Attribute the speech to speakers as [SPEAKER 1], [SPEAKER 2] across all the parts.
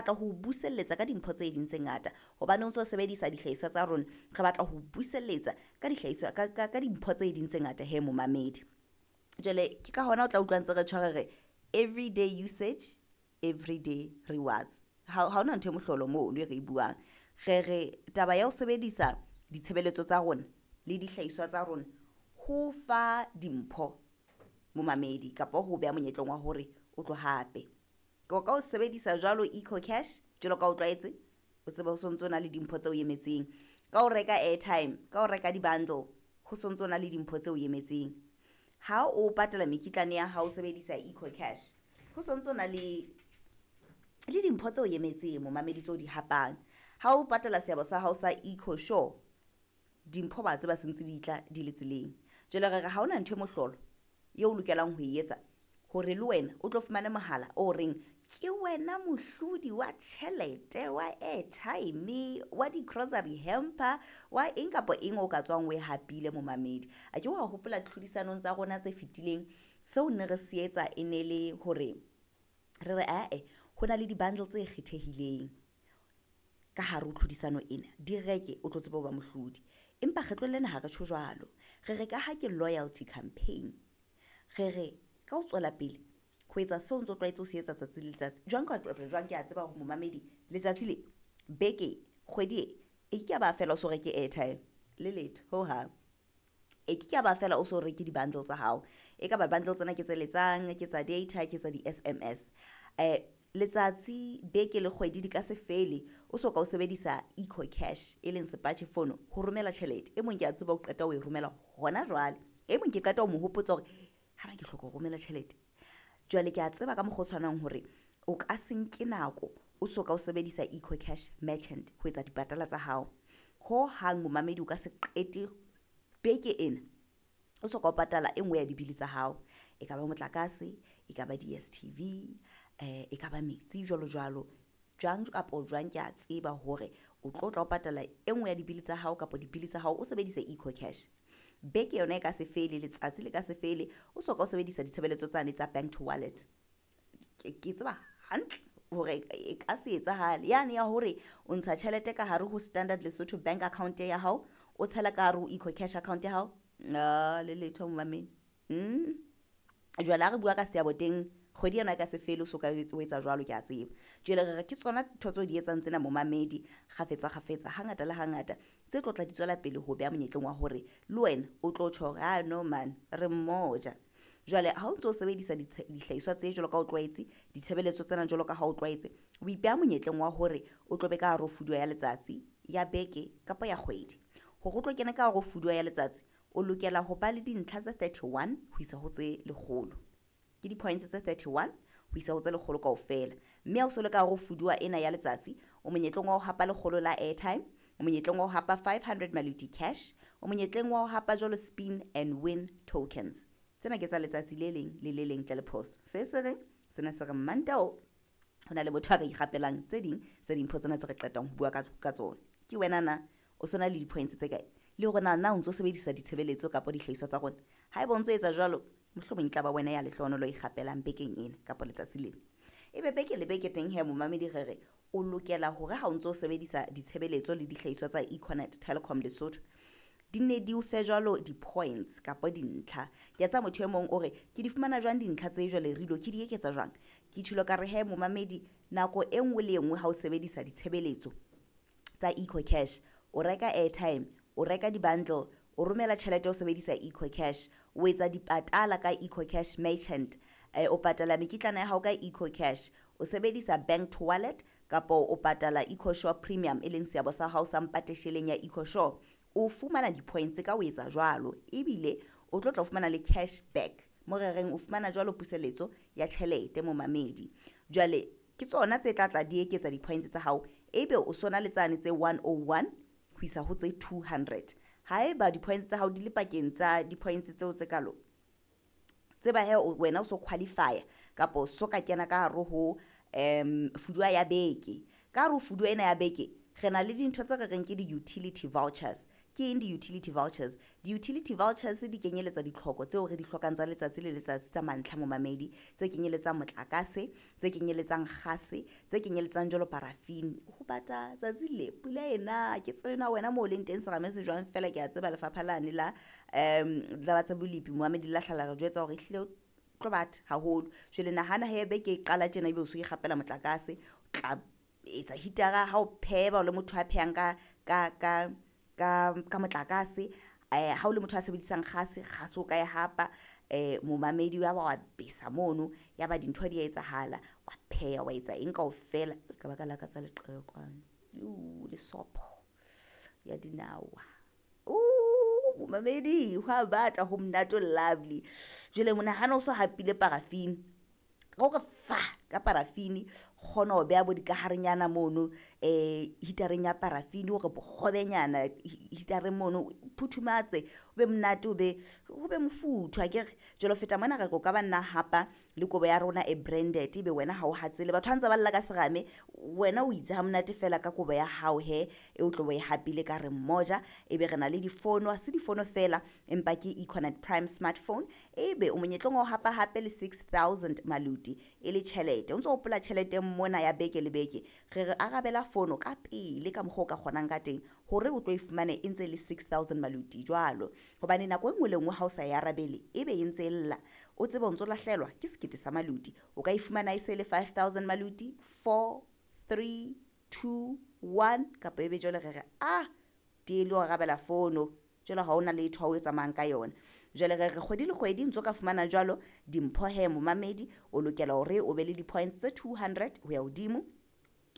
[SPEAKER 1] Batla ho buselletsa ka dimpho tse ding tse ngata hobane o ntso sebedisa dihlahiswa tsa rona. Re batla ho buselletsa ka dihlahiswa ka dimpho tse ding tse ngata he momamedi. Jwale ke ka hona o tla utlwa ntse re tjho re re everyday usage, everyday rewards. Ha hona ntho e mohlolo mono e re e buang. Re re taba ya ho sebedisa ditshebeletso tsa rona le dihlahiswa tsa rona ho fa dimpho momamedi kapa ho beha monyetleng wa hore o tlo hape. Ka o sebedisa jwalo EcoCash jwalo ka o tlwaetse, o tsebe ho sontso na le dimpho tse o emetseng. Ka ho reka airtime, ka ho reka di-bundle, ho sontso na le dimpho tse o emetseng. Ha o patala mekitlane ya hao o sebedisa EcoCash, ho sontso na le dimpho tse o emetseng momamedi tseo di hapang. Ha o patala seabo sa hao sa EcoSure, dimpho ba tseba se ntse di tla di le tseleng. Jwale re re ha hona ntho e mohlolo eo o lokelang ho e etsa hore le wena o tlo fumane mohala o reng ke wena mohlodi wa tjhelete, wa airtime, wa di-grocery hamper, wa eng kapa eng o ka tswang o e hapile momamedi. A ke wa hopola tlhodisanong tsa rona tse fetileng, seo ne re se etsa e ne le hore re re ae ho na le di-bundle tse kgethehileng ka hare ho tlhodisano ena, di reke o tlo tsebe ho ba mohlodi. Empa kgetlong lena ha re tjho jwalo, re re ka ha ke loyalty campaign, re re ka ho tswela pele ho etsa seo o ntso tlwaetse ho se etsa tsatsi le letsatsi. Jwang kapa jwang ke a tseba hore momamedi letsatsi le, beke, kgwedi e, e ke ke ya ba feela o so reke airtime le letho hohang. E ke ke ya ba feela o so reke di-bundle tsa hao. E ka ba bundle tsena ke tse letsang, ke tsa data, ke tsa di-SMS. Letsatsi, beke le kgwedi di ka se fele o so ka o sebedisa EcoCash e leng sepatjhe fono ho romela tjhelete. E mong ke a tseba o qeta ho e romela hona jwale, e mong ke qeta ho mo hopotsa hore ha ke hloka ho romela tjhelete. Jwale ke a tseba ka mokgwa o tshwanang hore o ka se nke nako o so ka o sebedisa EcoCash merchant ho etsa dipatala tsa hao. Ho hang momamedi o ka se qete beke ena o so ka o patala e nngwe ya dibili tsa hao. E ka ba motlakase, e ka ba DSTV, e ka ba metsi jwalo jwalo. Jwang kapa jwang ke a tseba hore o tlo tla o patala e nngwe ya dibili tsa hao kapa dibili tsa hao o sebedisa EcoCash. Beke yona e ka se fele, letsatsi le ka se fele o so ka o sebedisa ditshebeletso tsane tsa bank to wallet. Ke tseba hantle hore e ka se etsahale yane ya hore o ntsha tjhelete ka hare ho Standard Lesotho bank account ya hao, o tshela ka hare ho EcoCash account ya hao. Le letho momamedi. Jwale ha re bua ka seabo teng, kgwedi ena e ka se fele o so ka o etsa jwalo ke a tseba. Jwale re re ke tsona ntho tseo di etsang tsena momamedi kgafetsa kgafetsa, hangata le hangata tse tlo tla di tswela pele ho beha monyetleng wa hore le wena o tlo tjho hore ah no man re mmoja. Jwale ha o ntso sebedisa dihlahiswa tse jwalo ka o tlwaetse, ditshebeletso tsena jwalo ka ha o tlwaetse, o ipeha monyetleng wa hore o tlo be ka hare ho fuduwa ya letsatsi, ya beke kapa ya kgwedi. Hore o tlo kena ka hare ho fuduwa ya letsatsi, o lokela ho ba le dintlha tse 31 ho isa ho tse 100. Ke di-points tse 31 ho isa ho tse 100 kaofela. Mme ha o so le ka hare ho fuduwa ena ya letsatsi, o monyetleng wa ho hapa 100 la airtime, o monyetleng wa ho hapa 500 maluti cash, o monyetleng wa ho hapa jwalo spin and win tokens. Tsena ke tsa letsatsi le leng le le leng ntle le phoso. Se se reng sena se re Mantao ho na le motho a ka ikgapelang tse ding tsa dimpho tsena tse re qetang ho bua ka tsona. Ke wena na o sona le di-points tse kae? Le hore na o ntso sebedisa ditshebeletso kapa dihlahiswa tsa rona. Haeba o ntso etsa jwalo, mohlomong e tla ba wena ya lehlohonolo ikgapelang bekeng ena kapa letsatsi lena. Ebe beke le beke teng he momamedi re re o lokela hore ha o ntso sebedisa ditshebeletso le dihlahiswa tsa Econet Telecom Lesotho, di ne di o fe jwalo di-points kapa dintlha. Ke a tseba motho e mong o re ke di fumana jwang dintlha tse jwale re ilo ke di eketsa jwang? Ke tjholo ka re he momamedi, nako e nngwe le e nngwe ha o sebedisa ditshebeletso tsa EcoCash, o reka airtime, o reka di-bundle, o romela tjhelete o sebedisa EcoCash, o etsa dipatala ka EcoCash merchant, o patala mekitlana ya hao ka EcoCash, o sebedisa bank to wallet kapa o patala EcoSure Premium e leng seabo sa hao sa mpatesheleng ya EcoSure, o fumana di-points ka o etsa jwalo. Ebile o tlo tla o fumana le cash back, mo re reng o fumana jwalo puseletso ya tjhelete momamedi. Jwale ke tsona tse tla tla di eketsa di-points tsa hao, ebe o sona le tsane tse 101 ho isa ho tse 200. Haeba di-points tsa hao di le pakeng tsa di-points tseo tse kalo, tseba he wena o so qualify kapa o so ka kena ka hare ho fuduwa ya beke. Ka hare ho fuduwa ena ya beke, re na le dintho tse re reng ke di-utility vouchers. Ke eng di-utility vouchers? Di-utility vouchers di kenyeletsa ditlhoko tseo re di hlokang tsa letsatsi le letsatsi tsa mantlha momamedi, tse kenyeletsang motlakase, tse kenyeletsang kgase, tse kenyeletsang jwalo paraffin. Ho bata tsatsi le pula ena ke tsebe na wena moo o leng teng serame se jwang fela ke a tseba lefapha lane la la tsa bolepi momamedi la hlala re jwetsa hore ehlile tlo bata haholo. Jwale nahana he beke e qala tjena ebe o so ikgapela motlakase, o tla etsa hitara ha o pheha o le motho a phehang ka motlakase, ha o le motho a sebedisang kgase, kgase o ka e hapa, momamedi ya ba wa besa mono, ya ba dintho di a etsahala, wa pheha wa etsa eng kaofela. Ka baka la ka tsa leqhekwana le sopho ya dinawa. Momamedi hwa bata ho monate o lovely. Jwale monahano o so hapile paraffin, hore fa ka paraffin kgona ho beha bo dikaharenyana mono, hitareng ya paraffin hore bohobenyana hitareng mono phuthumatse, o be monate, o be ho be mofuthu akere. Jwale ho feta mona re re o ka ba nna hapa le kobo ya rona e branded, ebe wena ha o hatsele. Batho ha ntse ba lla ka serame, wena o itse ha monate fela ka kobo ya hao he e o tlo bo e hapile ka re mmoja. Ebe re na le difono, ha se difono fela empa ke Econet Prime smartphone, ebe o monyetleng wa ho hapa hape le 6000 maluti e le tjhelete. O ntso hopola tjhelete mona ya beke le beke, re re arabela fono ka pele ka mokgwa o ka kgonang ka teng hore o tlo e fumane e ntse e le 6000 maluti jwalo. Hobane nako e nngwe le nngwe ha o sa e arabele ebe e ntse e lla, o tsebe o ntso lahlehelwa ke sekete sa maluti. O ka e fumana e se le 5000 maluti, 4 3 2 1, kapa ebe jwale re re ah diele o arabela fono, jwale ha ona letho ha o tsamayang ka yona. Jwale re re kgwedi le kgwedi ntso ka fumana jwalo dimpho he momamedi, o lokela hore o be le di-points tse 200 ho ya hodimo.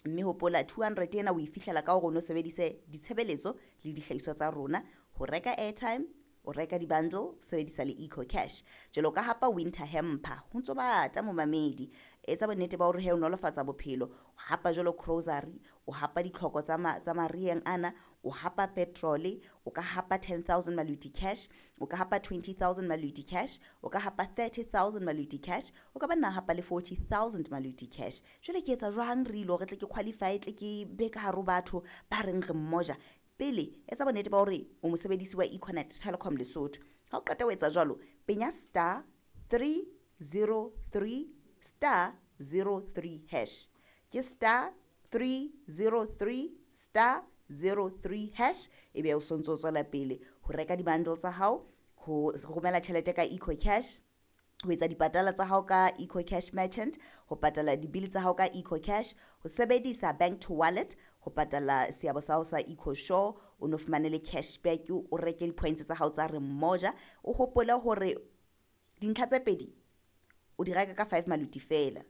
[SPEAKER 1] Mme hopola 200 ena o e fihlela ka hore o no sebedise ditshebeletso le dihlahiswa tsa rona, ho reka airtime, o reka di-bundle, o sebedisa le Eco Cash. Jwale o ka hapa winter hamper, ho ntso bata momamedi. Etsa bonnete ba hore he o nolofatsa bophelo, o hapa jwalo grocery, o hapa ditlhoko tsa mariheng ana, o hapa petrol, o ka hapa 10000 maluti cash, o ka hapa 20000 maluti cash, o ka hapa 30000 maluti cash, o ka ba nna hapa le 40000 maluti cash. Jwale ke etsa jwang re ile hore tle ke qualify, tle ke be ka hare ho batho ba reng re mmoja? Pele etsa bonnete ba hore o mosebedisi wa Econet Telecom Lesotho. Ha o qeta ho etsa jwalo, penya star 303 star 03 hash. Ke star 303 star 03 hash, ebe o sontso o tswela pele ho reka di-bundle tsa hao, ho romela tjhelete ka Eco Cash, ho etsa dipatala tsa hao ka Eco Cash Merchant, ho patala dibili tsa hao ka Eco Cash, ho sebedisa bank to wallet, ho patala seabo sa hao sa Eco Show, o no fumane le cashback, o reke di-points tsa hao tsa re mmoja. O hopole hore dintlha tse pedi o di reka ka 5 maluti fela.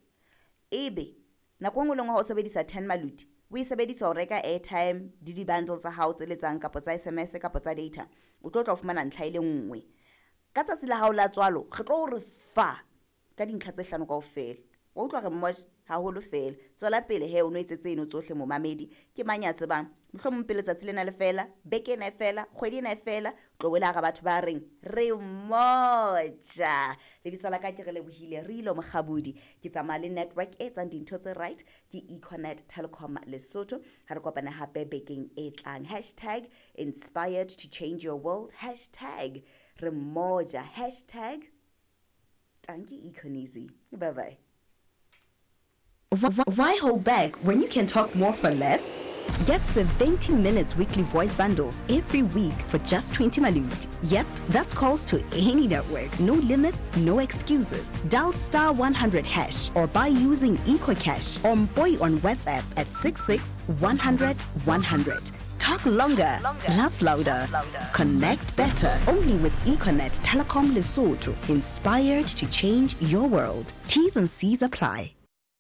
[SPEAKER 1] Ebe nako e nngwe le nngwe ha o sebedisa 10 maluti, o e sebedisa ho reka airtime le di-bundle tsa hao tse letsang kapa tsa SMS kapa tsa data, o tlo tla o fumana ntlha e le nngwe. Ka tsatsi la hao la tswalo re tlo re fa ka dintlha tse hlano kaofela. Wa utlwa re mmoja haholo fela. Tswela pele he o no etse tseno tsohle momamedi. Ke mang ya tsebang, mohlomong pele tsatsi lena le fela, beke ena e fela, kgwedi ena e fela, tlo wela hara batho ba reng re mmoja. Lebitso la ka ke re lebohile Rilo Mokgabudi. Ke tsamaya le network e etsang dintho tse right, ke Econet Telecom Lesotho. Ha re kopane hape bekeng e tlang. Hashtag inspired to change your world, hashtag re mmoja, hashtag tanki Econeasy. Bye bye. Why hold back when you can talk more for less? Get 70 minutes weekly voice bundles every week for just 20 malut. Yep, that's calls to any network. No limits, no excuses. Dial star 100 hash or buy using EcoCash or Boy on WhatsApp at 66 100 100. Talk longer, laugh louder, connect better. Only with Econet Telecom Lesotho. Inspired to change your world. T's and C's apply.